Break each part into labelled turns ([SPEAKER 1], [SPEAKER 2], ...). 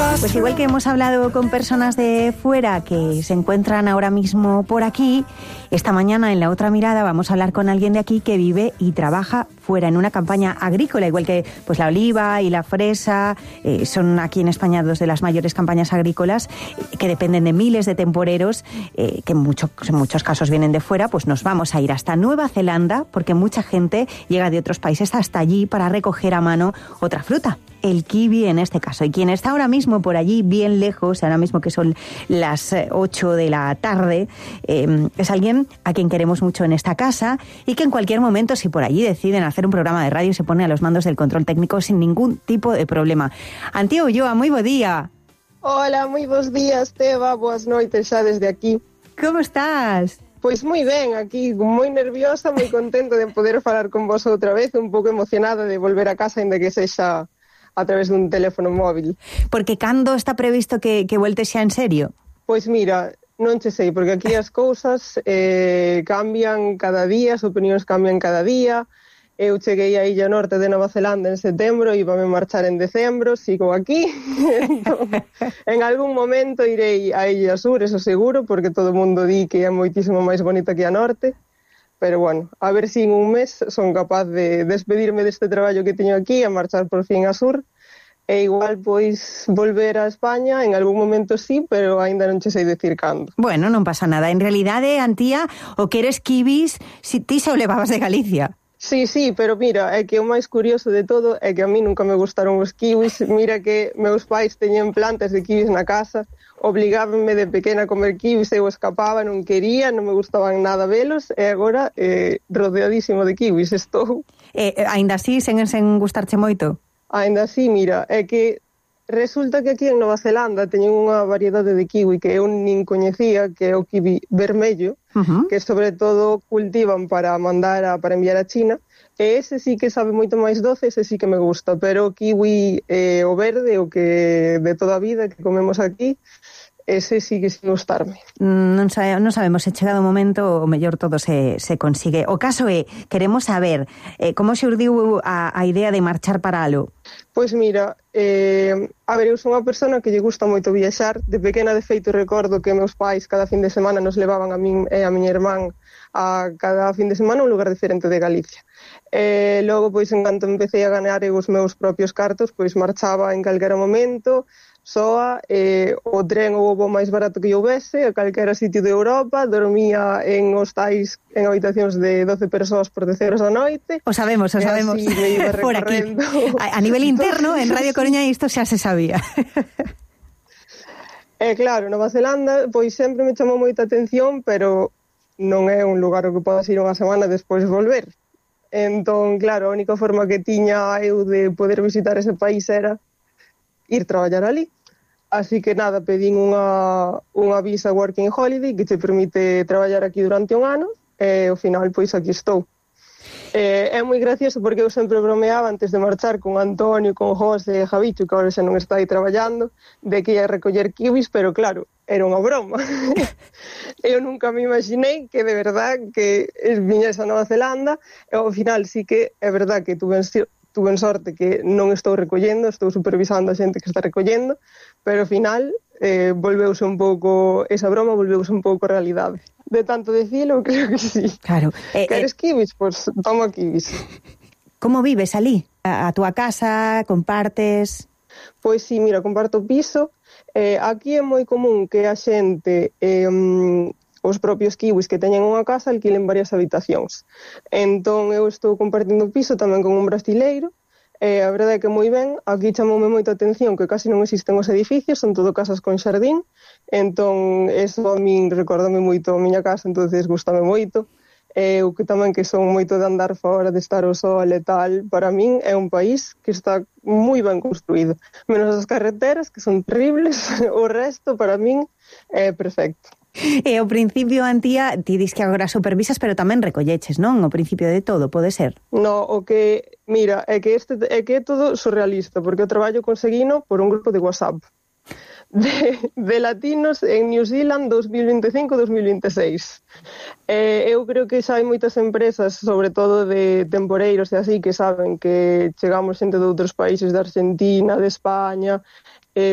[SPEAKER 1] Pues igual que hemos hablado con personas de fuera que se encuentran ahora mismo por aquí, esta mañana en La Otra Mirada vamos a hablar con alguien de aquí que vive y trabaja fuera en una campaña agrícola, igual que pues la oliva y la fresa, son aquí en España dos de las mayores campañas agrícolas que dependen de miles de temporeros que en muchos casos vienen de fuera. Pues nos vamos a ir hasta Nueva Zelanda porque mucha gente llega de otros países hasta allí para recoger a mano otra fruta, el kiwi en este caso. Y quien está ahora mismo por allí, bien lejos, ahora mismo que son las 8 de la tarde, es alguien a quien queremos mucho en esta casa y que en cualquier momento, si por allí deciden hacer un programa de radio, se pone a los mandos del control técnico sin ningún tipo de problema. Antía Ulloa, moi bo día.
[SPEAKER 2] Hola, moi bons días, Teba, boas noites xa desde aquí.
[SPEAKER 1] Como estás?
[SPEAKER 2] Pois moi ben, aquí moi nerviosa, moi contenta de poder falar con vos outra vez, un pouco emocionada de volver a casa, ainda que sexa a través dun teléfono móvil.
[SPEAKER 1] Porque cando está previsto que voltes xa en serio?
[SPEAKER 2] Pois mira, non che sei, porque aquí as cousas cambian cada día, as opinións cambian cada día. Eu cheguei á Illa Norte de Nova Zelanda en setembro e íbame marchar en decembro, sigo aquí. Entón, en algún momento irei á Illa Sur, eso seguro, porque todo o mundo di que é moitísimo máis bonita que a Norte. Pero bueno, a ver se en un mes son capaz de despedirme deste traballo que teño aquí e marchar por fin a Sur. E igual, pois, volver a España en algún momento sí, pero aínda non che sei decir cando.
[SPEAKER 1] Bueno, non pasa nada. En realidade, Antía, o que eres kiwis, si ti xa o levabas de Galicia.
[SPEAKER 2] Sí, pero mira, é que o máis curioso de todo é que a mí nunca me gustaron os kiwis. Mira que meus pais teñen plantas de kiwis na casa, obligábanme de pequena a comer kiwis, eu escapaba, non quería, non me gustaban nada velos, e agora rodeadísimo de kiwis estou.
[SPEAKER 1] Aínda así, sen gustarche moito?
[SPEAKER 2] Aínda así, mira, é que resulta que aquí en Nova Zelanda teñen unha variedade de kiwi que eu nin coñecía, que é o kiwi vermello, que sobre todo cultivan para enviar a China, e ese sí que sabe moito máis doce, ese sí que me gusta, pero o kiwi o verde, o que de toda a vida que comemos aquí, ese sí que sin gustarme.
[SPEAKER 1] Non sabemos se chegado o momento o mellor todo se consigue. O caso é, queremos saber como se urdiu a idea de marchar para aló.
[SPEAKER 2] Pois mira, a ver, eu son unha persona que lle gusta moito viaxar. De pequena, de feito, recordo que meus pais cada fin de semana nos levaban a min e a miña irmán a cada fin de semana a un lugar diferente de Galicia. Logo, pois, en canto empecé a ganar os meus propios cartos, pois marchaba en calquera momento, soa, o tren ou o voo máis barato que houvese, a calquera sitio de Europa, dormía en hostais, en habitacións de 12 persoas por 10 euros a noite.
[SPEAKER 1] O sabemos.
[SPEAKER 2] Así me iba
[SPEAKER 1] por aquí. A nivel interno, en Radio Coruña isto xa se sabía.
[SPEAKER 2] Claro, Nova Zelanda, pois sempre me chamou moita atención, pero non é un lugar ao que podas ir unha semana despois volver. Entón, claro, a única forma que tiña eu de poder visitar ese país era ir traballar ali. Así que nada, pedín unha visa Working Holiday que te permite traballar aquí durante un ano e ao final pois aquí estou. É moi gracioso porque eu sempre bromeaba antes de marchar con Antonio, con José e Javicho, que agora xa non está aí traballando, de que ia a recoller kiwis, pero claro, era unha broma. Eu nunca me imaginei que de verdad que viñese a Nova Zelanda e ao final sí que é verdad que tuve sorte que non estou recollendo, estou supervisando a xente que está recollendo, pero ao final volveuse un pouco, esa broma volveuse un pouco a realidade. De tanto decilo, creo que sí.
[SPEAKER 1] Claro.
[SPEAKER 2] Queres kiwis? Pois toma kiwis.
[SPEAKER 1] Como vives alí? A túa casa? Compartes?
[SPEAKER 2] Pois sí, mira, comparto piso. Aquí é moi común que a xente, os propios kiwis que teñen unha casa, alquilen varias habitacións. Entón, eu estou compartindo piso tamén con un brasileiro. A verdade é que moi ben, aquí chamoume moita atención que casi non existen os edificios, son todo casas con xardín, entón, eso a min recórdame moito a miña casa, entonces gustame moito. Eu que tamén que son moito de andar fora, de estar ao sol e tal, para min é un país que está moi ben construído. Menos as carreteras, que son terribles, o resto para min é perfecto.
[SPEAKER 1] E ao principio, Antía, ti dis que agora supervisas, pero tamén recolleches, non? O principio de todo, pode ser?
[SPEAKER 2] No, o que, mira, é que é todo surrealista, porque eu traballo conseguino por un grupo de WhatsApp de latinos en New Zealand 2025-2026. Eu creo que xa hai moitas empresas, sobre todo de temporeiros e así, que saben que chegamos xente de outros países, de Argentina, de España,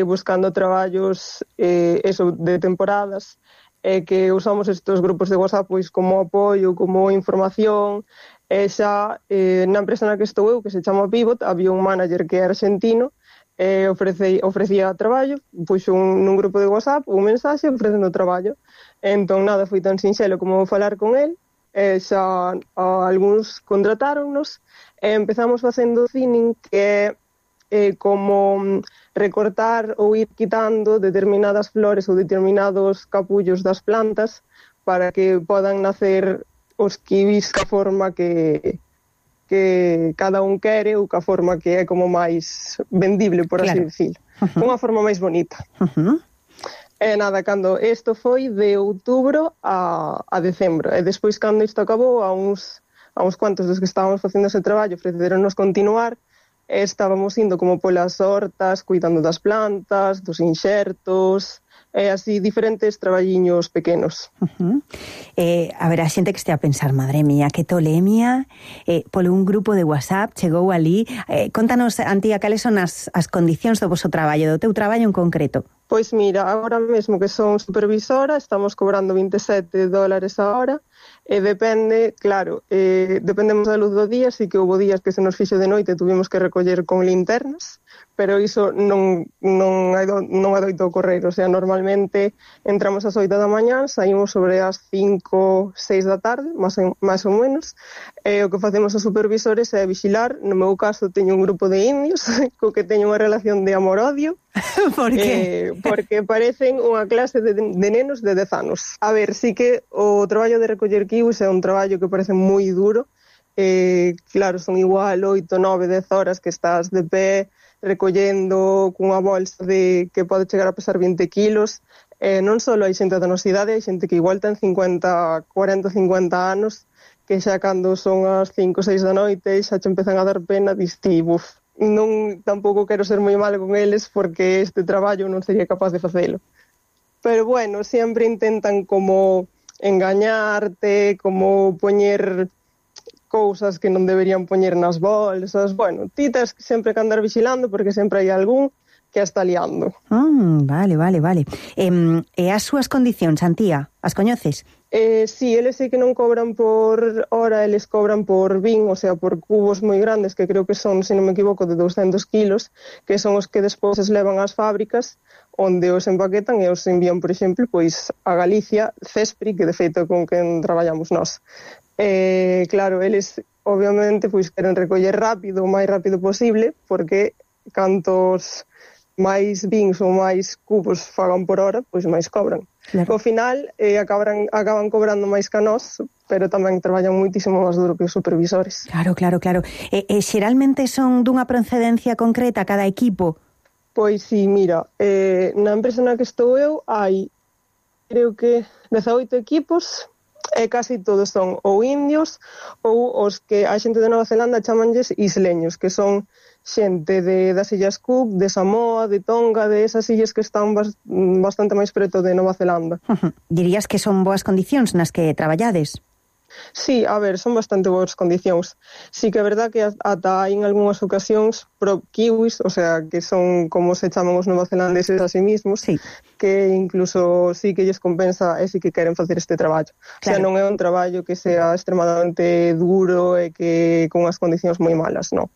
[SPEAKER 2] buscando traballos eso, de temporadas, que usamos estes grupos de WhatsApp pois como apoio, como información. Xa na empresa na que estou eu, que se chama Pivot, había un manager que é argentino, ofrecía traballo, puxo nun grupo de WhatsApp un mensaxe ofrecendo traballo. Entón nada, foi tan sinxelo como falar con el, xa algúns contratáronnos, e empezamos facendo thinning, que é como recortar ou ir quitando determinadas flores ou determinados capullos das plantas para que podan nacer os kiwis ca forma que cada un quere ou ca forma que é como máis vendible, por así decirlo. Unha forma máis bonita. E nada, cando isto foi de outubro a decembro, e despois cando isto acabou, a uns cuantos dos que estábamos facendo ese traballo ofreceronnos continuar. Estábamos indo como polas hortas, cuidando das plantas, dos inxertos, e así diferentes traballiños pequenos.
[SPEAKER 1] A ver, a xente que estea a pensar, madre mía, que tolemia, polo un grupo de WhatsApp chegou ali. Contanos, Antía, cales son as condicións do vosso traballo, do teu traballo en concreto?
[SPEAKER 2] Pois mira, agora mesmo que son supervisora, estamos cobrando $27 a hora, e depende, claro, dependemos da luz do día, así que houve días que se nos fixo de noite, tuvimos que recoller con linternas, pero iso non adoito ocorrer, o sea, normalmente entramos ás 8 da mañá, saímos sobre as 5, 6 da tarde, máis ou menos, e o que facemos os supervisores é vixilar. No meu caso teño un grupo de indios, co que teño unha relación de amor-odio.
[SPEAKER 1] Por que?
[SPEAKER 2] Porque parecen unha clase de nenos de 10 anos. A ver, sí que o traballo de recoller kiwis é un traballo que parece moi duro. Claro, son igual 8, 9, 10 horas que estás de pé recollendo cunha bolsa que pode chegar a pesar 20 kilos. Non só hai xente da nosa idade, hai xente que igual ten 40, 50 anos, que xa cando son as 5, 6 da noite xa te empezan a dar pena, diste, buf, non, tampouco quero ser moi mal con eles porque este traballo non sería capaz de facelo. Pero bueno, sempre intentan como engañarte, como poñer cousas que non deberían poñer nas bolsas. Bueno, ti tens sempre que andar vigilando porque sempre hai algún que está liando.
[SPEAKER 1] Vale. E as súas condicións, Antía, as coñeces?
[SPEAKER 2] Sí, eles sí que non cobran por hora, eles cobran por bin, o sea, por cubos moi grandes, que creo que son, se non me equivoco, de 200 kilos, que son os que despois se levan ás fábricas, onde os empaquetan e os envían, por exemplo, pois a Galicia, Cespri, que de feito con quen traballamos nós. Claro, eles obviamente pois queren recoller rápido, o máis rápido posible, porque cantos máis bins ou máis cubos fagan por hora, pois máis cobran. Claro. Ao final acaban cobrando máis que a nós, pero tamén traballan moitísimo máis duro que os supervisores.
[SPEAKER 1] Claro. E xeralmente son dunha procedencia concreta cada equipo?
[SPEAKER 2] Pois sí, mira, na empresa na que estou eu hai, creo que 18 equipos, e casi todos son ou indios ou os que a xente de Nova Zelanda chamanlles isleños, que son xente das Illas Cook, de Samoa, de Tonga, de esas illas que están bastante máis preto de Nova Zelanda.
[SPEAKER 1] Dirías que son boas condicións nas que traballades?
[SPEAKER 2] Sí, a ver, son bastante boas condicións. Sí que é verdad que ata hai en algunhas ocasións pro kiwis, o sea, que son como se chaman os novazelandeses a sí mismos, sí, que incluso sí que lles compensa e sí que queren facer este traballo. Claro. O sea, non é un traballo que sea extremadamente duro e que con as condicións moi malas, non.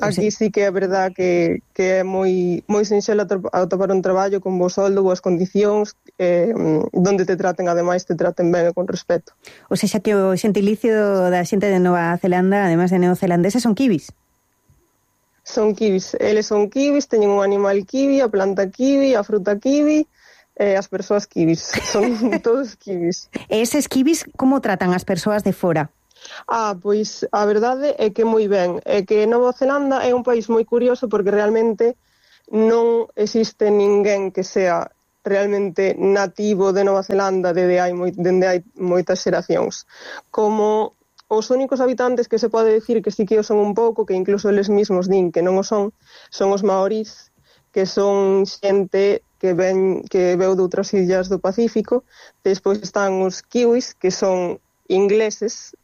[SPEAKER 2] Aquí sí que é verdad que é moi sinxelo atopar un traballo con bo soldo, boas condicións, donde te traten, ademais, te traten ben e con respeto.
[SPEAKER 1] O sea, xa que o xentilicio da xente de Nova Zelanda, ademais de neozelandeses, son kiwis?
[SPEAKER 2] Son kiwis. Eles son kiwis, teñen un animal kiwi, a planta kiwi, a fruta kiwi, as persoas kiwis. Son todos kiwis.
[SPEAKER 1] E eses kiwis, como tratan as persoas de fora?
[SPEAKER 2] Pois a verdade é que moi ben. É que Nova Zelanda é un país moi curioso porque realmente non existe ninguén que sea realmente nativo de Nova Zelanda dende hai moitas xeracións. Como os únicos habitantes que se pode decir que sí que o son un pouco, que incluso eles mesmos din que non o son os maorís, que son xente que veu de outras illas do Pacífico. Despois están os kiwis, que son ingleses,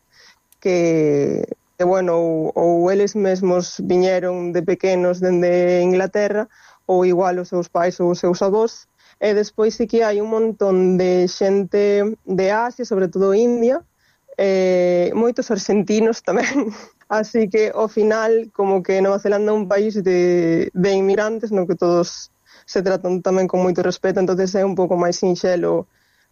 [SPEAKER 2] que bueno, ou eles mesmos viñeron de pequenos dende Inglaterra, ou igual os seus pais ou os seus avós. E despois sí que hai un montón de xente de Asia, sobre todo India, moitos argentinos tamén. Así que, ao final, como que Nova Zelanda é un país de inmigrantes, no que todos se tratan tamén con moito respeto, entonces é un pouco máis sinxelo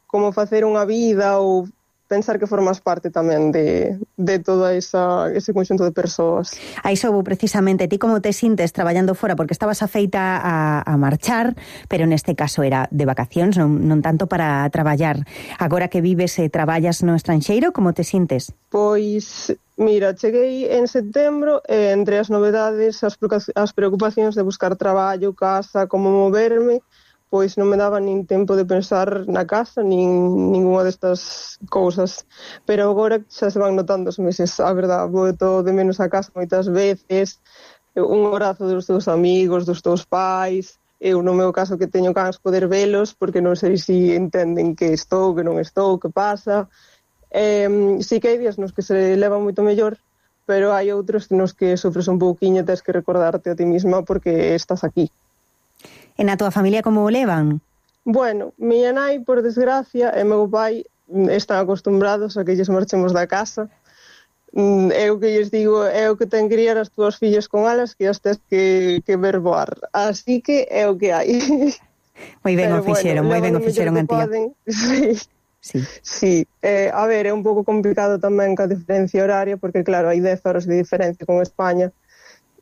[SPEAKER 2] como facer unha vida ou pensar que formas parte tamén de todo ese conxunto de persoas.
[SPEAKER 1] A iso vou precisamente. Ti como te sintes traballando fora? Porque estabas afeita a marchar, pero neste caso era de vacacións, non tanto para traballar. Agora que vives e traballas no estranxeiro, como te sintes?
[SPEAKER 2] Pois, mira, cheguei en setembro e entre as novedades, as preocupacións de buscar traballo, casa, como moverme, pois non me daba nin tempo de pensar na casa, nin ninguna destas cousas. Pero agora xa se van notando os meses, a verdad, boto de menos a casa moitas veces, un abrazo dos teus amigos, dos teus pais, eu no meu caso que teño cans poder velos, porque non sei se entenden que estou, que non estou, que pasa. Sí que hai días nos que se leva moito mellor, pero hai outros nos que sofres un pouquiño e tens que recordarte a ti misma porque estás aquí.
[SPEAKER 1] E na tua familia como o levan?
[SPEAKER 2] Bueno, miña nai, por desgracia, e meu pai están acostumbrados a que lles marchemos da casa. Eu que lles digo, é o que ten que criar as túas fillas con alas, que as tes que ver voar. Así que é o que hai.
[SPEAKER 1] Moi ben o fixeron, moi ben o fixeron, Antía.
[SPEAKER 2] Sí. A ver, é un pouco complicado tamén ca diferencia horaria, porque claro, hai 10 horas de diferencia con España.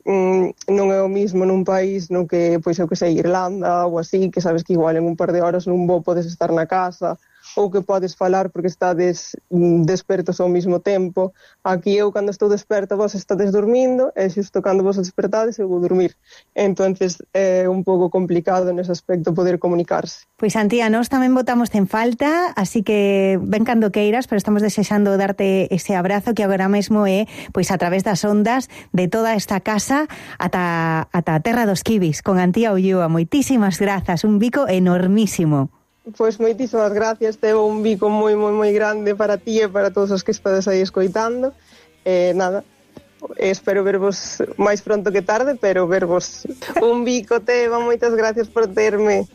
[SPEAKER 2] Non é o mismo nun país no que, pois eu que sei, Irlanda ou así, que sabes que igual en un par de horas nun voo podes estar na casa ou que podes falar porque estades despertos ao mesmo tempo. Aquí eu cando estou desperta vos estades dormindo e xusto cando vos despertades eu vou dormir. Entonces é un pouco complicado nese aspecto poder comunicarse.
[SPEAKER 1] Pois Antía, nós tamén botamos en falta, así que ven cando queiras, pero estamos desexando darte ese abrazo que agora mesmo é pois a través das ondas de toda esta casa ata a terra dos kibis con Antía Ulloa. Moitísimas grazas, un bico enormísimo.
[SPEAKER 2] Pois moitísimas gracias, tevo un bico moi grande para ti e para todos os que estades aí escoitando. Nada, espero vervos máis pronto que tarde, pero vervos. Un bico, Teba, moitas gracias por terme.